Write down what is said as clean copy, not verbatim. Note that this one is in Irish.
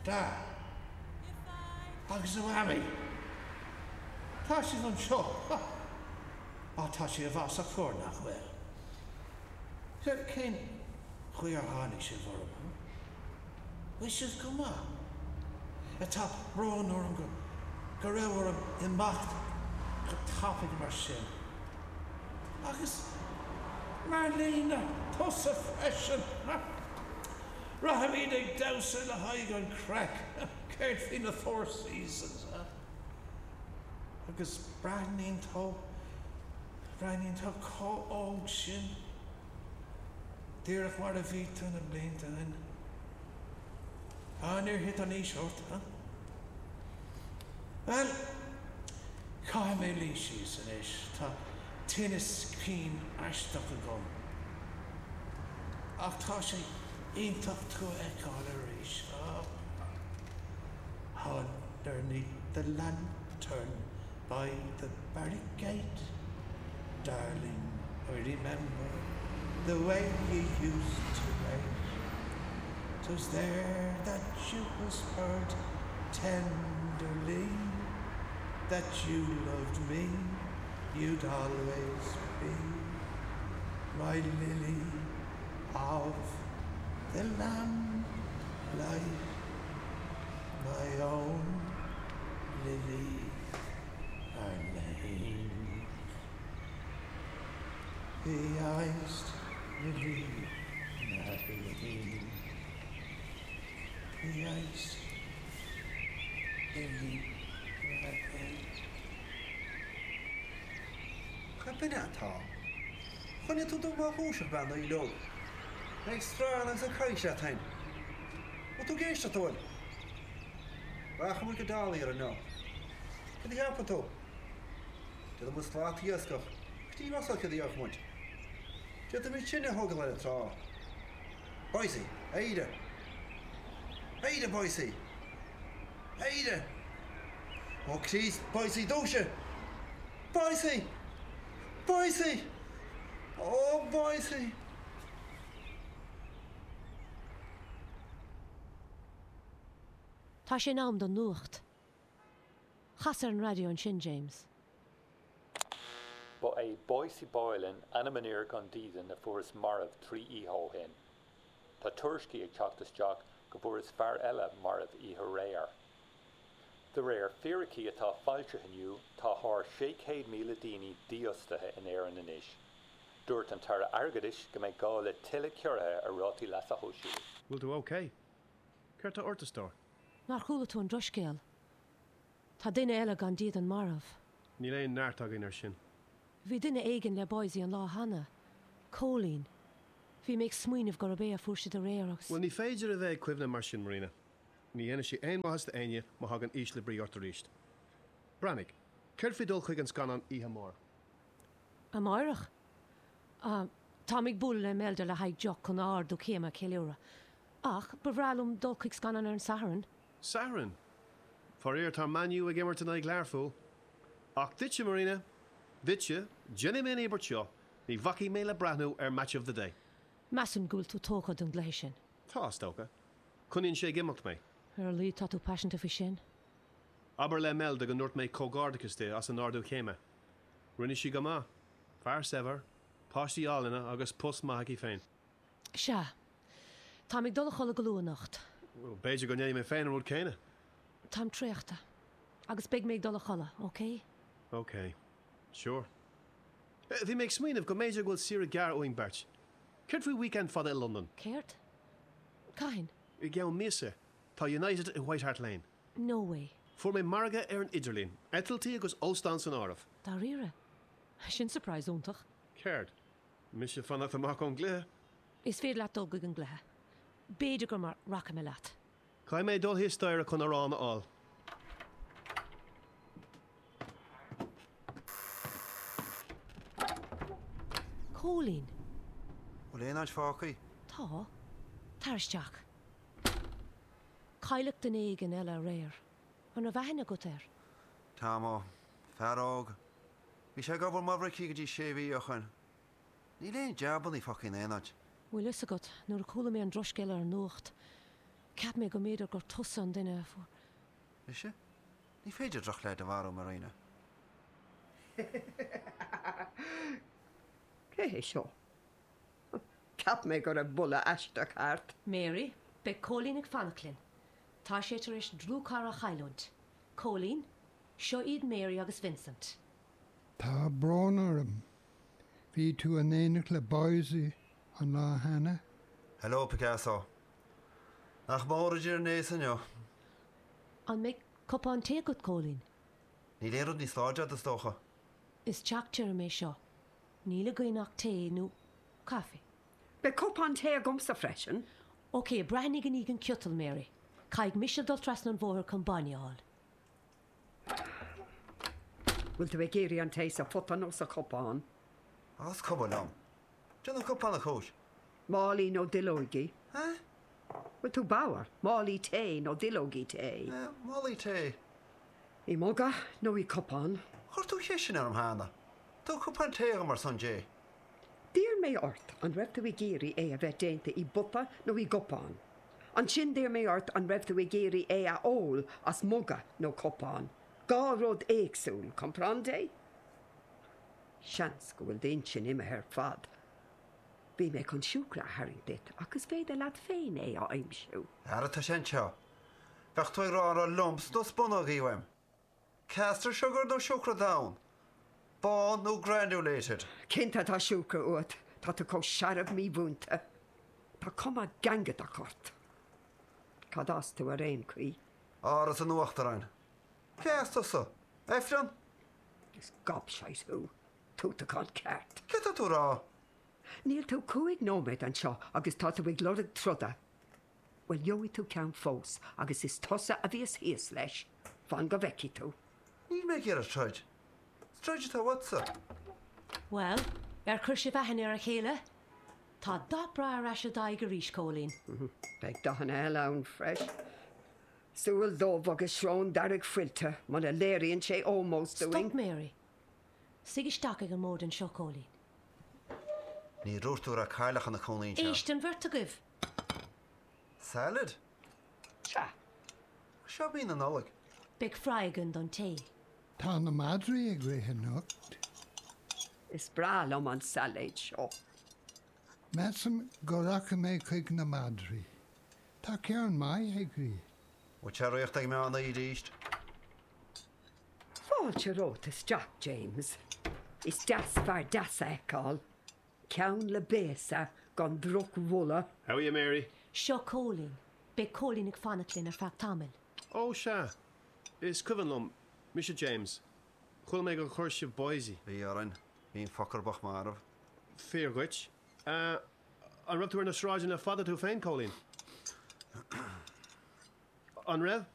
Da. Agus a Mhamaí. Tá sibh anseo. Á, tá sé i bhfasach fuar, nach bhfuil? Cén chaoi ar tháinig sibh orm, huh? Bhfuil sibh go maith? Tá brón orm go go raibh orm imeacht go tapaidh mar sin. Agus Marlena, tusa freisin! Rachaimid ag damhsa le haghaidh an craic! Céard faoi na Four Seasons, huh? Agus breathnaíonn tú, breathnaíonn tú chomh óg sin. Díreach mar a bhí tú na blianta ó shin. Á, níor thit an aois ort, huh? Bhuel, caithfidh mé luí síos anois, tá tinneas cinn aisteach agam. Ach tá sé iontach tú a fheiceáil arís. Underneath the lantern by the barrack gate, darling, I remember the way you used to wait. 'Twas there that you whispered tenderly that you loved me, you'd always be my lily of the lamplight, my own Lily Marlene. The iced Lily Marlene. The iced Lily Marlene. Cad b'in é atá? Choinnigh tú dom á dhúiseacht bean Uí Leog. Ag sracadh agus ag caint leat féin. Bhfuil tú ag éisteacht an bhfuil? Rachaidh muid go Dollier inniu. Cad a cheapann tú? Déanfaidh muid slat iascach go dtí Ros céard a dhéanfadh muid. D'fhéadfaimis tine a thógáil ar an trá. Boysie, éirigh! Éirigh, Boysie! Éirigh! Ó Chríost, Boysie, dúisigh! Boysie! Boysie! Ó, Boysie! Tá sé in am don nuacht. Cas ar an raidió ansin, James. Ba é Boysie Boylan ainm an fhir gan dídean a fuarthas marbh 3 oíche ó shin. Tá tuairiscí ag teacht isteach go bhfuarthas fear eile marbh oíche aréir. De réir fíricí atá foilsithe inniu, tá thar 600,000 daoine dífhostaithe in Éirinn anois. Dúirt an tAire Airgeadais go mbeidh gá le tuilleadh ciorruithe ar rátaí leasa shóisialaigh. Bhfuil tú ok? Céard tá ort, a stór? Nár chuala tú an drochscéal? Tá duine eile gan dídean marbh. Níl aon neart againn air sin. Bhí duine éigin le Boysie an lá cheana. Cóilín. Bhí mé ag smaoineamh gurb é a fuair siad aréir agus. Bhuel, ní féidir a bheith ag cuimhneamh mar sin, Marina. Ní dhéanfaidh sé aon mhaitheas d'éinne má thagann ísle brí ort arís. Breathnaigh, céard faoi dul chuig an scannán oíche amárach? Amárach? Ah, táim ag bualadh le Imelda le haghaidh deoch chun a ardú céime a cheiliúradh. Ach ba bhreá liom dul chuig scannán ar an Satharn. Satharn? Faraor, tá Man U ag imirt in aghaidh Learpholl. Ach duitse, Marina, duitse, déanfaidh mé an íobairt seo, ní bhacfaidh mé le breathnú ar Match of the Day. Measaim go bhfuil tú tógtha don gcluiche sin. Tá, is dócha. Coinníonn sé ag imeacht mé. Ar a laghad tá tú paiseanta faoi sin. Abair le Imelda go ndúirt mé comhghairdeachas di as an ardú céime. Rinne sí go maith. Fear saibhir, páistí álainne agus post maith aici féin. Sea. Táim ag dul a chodladh go luath anocht. B'fhéidir go ndéanfaidh mé féin an rud céanna. Táim traochta. Agus beidh mé ag dul a chodladh, ok? Ok. Sure. Bhí mé ag smaoineamh go mb'fhéidir go bhfuil saoire ghearr uainn beirt. Céard faoi weekend fada i Londain? Céard? Cathain? I gceann míosa. Tá United i White Hart Lane. No way. Fuair mé margadh ar an idirlíon. Eitiltí agus óstán san áireamh. Dáiríre? Sin surprise iontach. Céard? Mise fanacht amach ón gcluiche? Is féidir leat dul chuig an gcluiche. B'fhéidir go rachaidh mé leat. Caithfidh mé dul thíos staighre chun arán a fháil. Cóilín. Bhfuil aon áit fágtha? Tá. Tar isteach. Cailleadh duine éigin eile aréir. An raibh aithne agat air? Tammo. Fear óg. Bhí sé ag obair mar bhrickie go dtí sé mhí ó shoin. Níl aon jabannaí fágtha in aon áit. Bhfuil fhios agat, nuair a chuala mé an drochscéal ar an nuacht. Cheap mé go mb'fhéidir gur tusa an duine a fuair. Mise? Ní féidir drochleaid a mharú, Marina. Cé hé seo? Cheap mé go raibh boladh aisteach thart. Mary, Beidh Cóilín ag fanacht linn. Tá sé tar éis dlúthchara a chailliúint. Cóilín, Seo iad Mary agus Vincent. Tá brón orm. Bhí tú in éineacht le Boysie an lá cheana? Hello, Picasso. Nach mór idir an aos inniu. An mbeidh cupán tae agat, Cóilín? Níl aon rud níos láidre agat, is dócha. Is teach tirim é seo. Níl againn ach tae nó caife. Beidh cupán tae agamsa freisin. Ok, breathnaigh i ndiaidh an ciotal, Mary. Caithfidh mise dul trasna an bhóthair chun bainne a fháil. Bhfuil tú ag iarraidh an tae sa phota nó sa chupán? Á, is cuma liom. Déan an cupán a chúis. Málaí nó duilleoigí? Eh? Bhfuil tú bodhar? Málaí tae nó duilleogaí tae? Eh, málaí tae. I muga nó i gcupán? Chuir tú an cheist sin orm cheana. Tabhair cupán tae dhom ar son Dé. D'iarr mé ort an raibh tú ag iarraidh é a bheith déanta i bpota nó i gcupán. Ansin d'iarr mé ort an raibh tú ag iarraidh é a ól as muga nó cupán. Dhá rud éagsúil, comprende? Seans go bhfuil d'intinn imithe ar fad. Bhí mé chun siúcra a tharraingt duit ach is féidir leat féin é a aimsiú. Ara tá sé anseo. Bheadh tú ag rá an raibh lumps nó spúnógaí uaim. Caster sugar nó siúcra donn? Bán nó granulated? Cinnte tá siúcra uait, tá tú chomh searbh mímhúinte. Tá cuma ghangadach ort. Cad as tú ar aon chaoi? Áras an Uachtaráin. Cé as tusa? Ifreann? Is gobshite thú. Tútachán ceart. Céard tá tú a rá? Níl tú chúig nóiméad anseo agus tá tú ag lorg troda. Bhuel, gheobhaidh tú ceann fós agus is tusa a bheas thíos leis. Fan go bhfeicfidh tú. Níl mé ag iarraidh troid. Is troid atá uatsa. Bhuel, ar chuir sibh aithne ar a chéile? Tá dath breá ar ais i d'aghaidh arís, Cóilín. Beidh dathanna eile ann freisin. Súil dhubh agus srón dearg fuilteach, muna léiríonn sé ómós dúinn. Stop, Mary. Suigh isteach ag an mbord anseo, Cóilín. Ní dúirt tú go raibh cailleach ina cónaí anseo. Éist, an bheirt agaibh! Salad? Sea. Seo mí na Nollag. Beidh fry againn don tae. Tá na madraí ag rith anocht. Is breá liom an sailéad seo. Measaim go rachaidh mé chuig na madraí. Tá ceann maith ag rith. Bhfuil sé ag meán oíche arís? Fáilte romhat isteach, James. Is deas fear deas a fheiceáil. Ceann le béasa gan drochbholadh. How are you, Mary? Seo Cóilín. Beidh Cóilín ag fanacht linn ar feadh tamaill. Ó, sea. Is cuimhin liom. Mise James. Chuala mé gur chuir sibh Boysie. Bhí orainn. Bhí an fucker bocht marbh. Fíor dhuit. An raibh tú ar na sráideanna le fada tú féin, Cóilín? An raibh?